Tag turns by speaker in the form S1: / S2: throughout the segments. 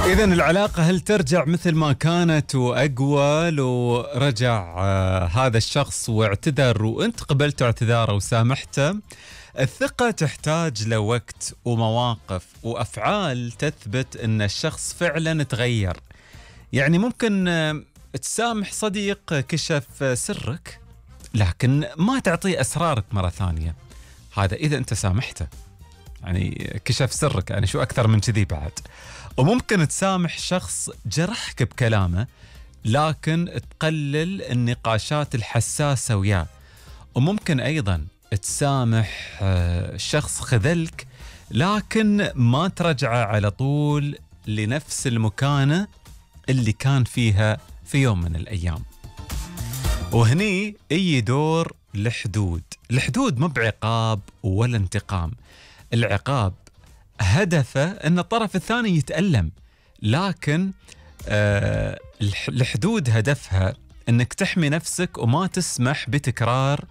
S1: إذن العلاقة هل ترجع مثل ما كانت وأقوى لو رجع هذا الشخص واعتذر وأنت قبلت اعتذاره وسامحته؟ الثقة تحتاج لوقت ومواقف وأفعال تثبت أن الشخص فعلا تغير. يعني ممكن تسامح صديق كشف سرك لكن ما تعطيه أسرارك مرة ثانية، هذا إذا أنت سامحته، يعني كشف سرك، يعني شو أكثر من كذي بعد. وممكن تسامح شخص جرحك بكلامه لكن تقلل النقاشات الحساسة وياه. وممكن أيضا تسامح شخص خذلك لكن ما ترجعه على طول لنفس المكانة اللي كان فيها في يوم من الأيام. وهني أي دور الحدود مو بعقاب ولا انتقام. العقاب هدفه أن الطرف الثاني يتألم، لكن الحدود هدفها أنك تحمي نفسك وما تسمح بتكرار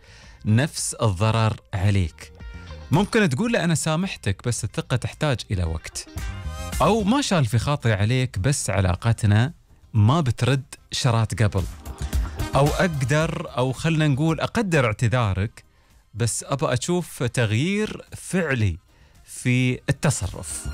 S1: نفس الضرر عليك. ممكن تقول له أنا سامحتك بس الثقة تحتاج إلى وقت، أو ما شال في خاطري عليك بس علاقتنا ما بترد شرات قبل، أو أو خلنا نقول أقدر اعتذارك بس أبغى أشوف تغيير فعلي في التصرف.